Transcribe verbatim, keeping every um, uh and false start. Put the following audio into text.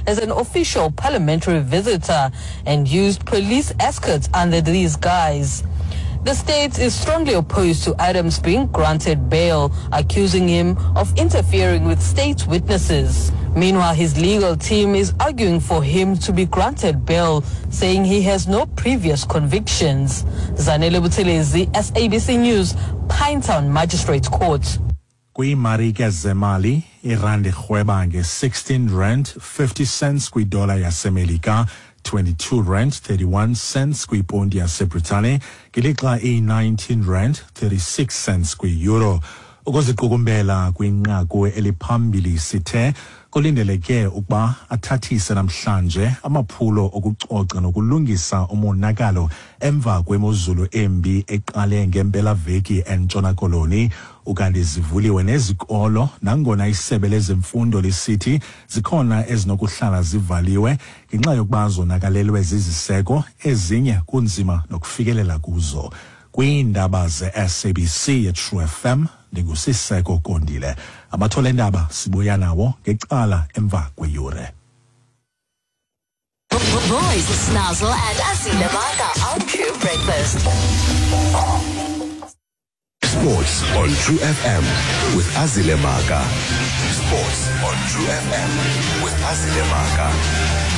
as an official parliamentary visitor and used police escorts under these guise. The state is strongly opposed to Adams being granted bail, accusing him of interfering with state witnesses. Meanwhile, his legal team is arguing for him to be granted bail, saying he has no previous convictions. Zanele Buthelezi, S A B C News, Pinetown Magistrates Court. Kwiimarike zemali, irandi irhweba nge-sixteen rand fifty cents kwidola yaseMelika, twenty-two rand thirty-one cents kwiponti yaseBritane, ngelixa iyi-nineteen rand thirty-six cents kwi-euro. Ukuziqukumbela kwinqaku eliphambili sithe kulindeleke ukuba athathise namhlanje amaphulo okucoca nokulungisa umonakalo emva kwemozulu embi eqale ngempelaveki eNtshona Koloni. Ukanti zivuliwe nezikolo nangona isebe lezemfundo lisithi zikhona ezinokuhlala zivaliwe ngenxa yokuba zonakalelwe ziziseko, ezinye kunzima nokufikelela kuzo. Kwiindaba ze-S A B C ye-True F M, ndinguSiseko Kondile. Abathole ndaba sibuya nawo ngecala emva kweyure. Boys, Snazzle and Azile Maka on True Breakfast. Sports on True F M with Azile Maka. Sports on True F M with Azile Maka.